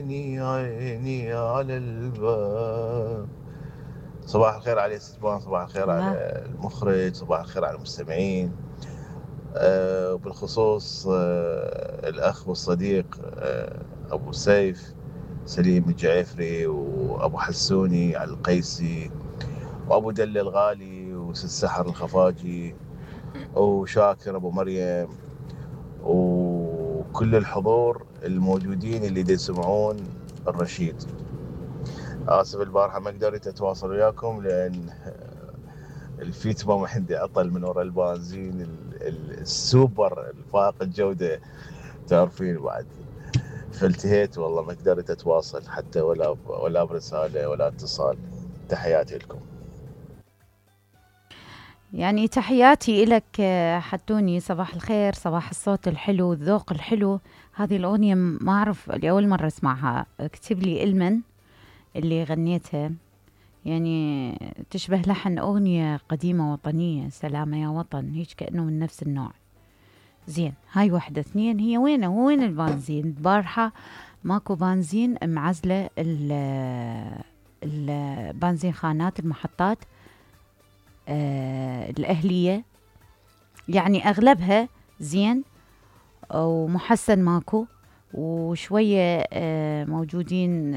عيني عيني على الباب. صباح الخير على استثمار، صباح الخير على الله. المخرج، صباح الخير على المستمعين. وبالخصوص الأخ والصديق أبو سيف سليم الجعفري، وأبو حسوني على القيسي، وأبو دل الغالي، وست سحر الخفاجي، وشاكر أبو مريم، وكل الحضور الموجودين اللي دي يسمعون الرشيد. آسف البارحة ما قدرت أتواصل وياكم لأن الفيت ما عندي عطل من وراء البنزين السوبر الفائق الجودة، تعرفين بعد. فالتهيت والله ما قدرت أتواصل حتى ولا برسالة ولا اتصال. تحياتي لكم. يعني تحياتي إلك حتوني، صباح الخير، صباح الصوت الحلو، الذوق الحلو. هذه الأغنية ما أعرف، لأول مرة أسمعها. اكتب لي إلمن اللي غنيتها، يعني تشبه لحن أغنية قديمة وطنية، سلامة يا وطن، هيك كأنه من نفس النوع. زين، هاي واحدة. اثنين، هي وين البنزين البارحة؟ ماكو بنزين، معزلة البنزين خانات المحطات الأهلية، يعني أغلبها زين، ومحسن ماكو، وشوية موجودين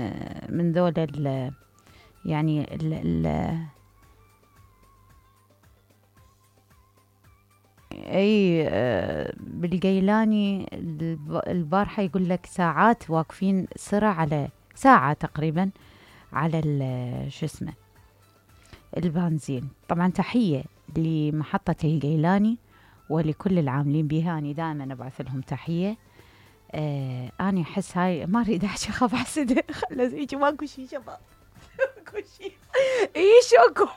من ذول يعني اي بالقيلاني البارحة يقول لك ساعات واقفين سرعة، على ساعة تقريبا على شو اسمه البنزين. طبعا تحية لمحطة القيلاني ولكل العاملين بها، أنا دائما أبعث لهم تحية. أنا أحس هاي ما أريد أحكي، أخاف أحسده. خلص هيك، ماكو شي شباب. ماكو شي. إيشوكم.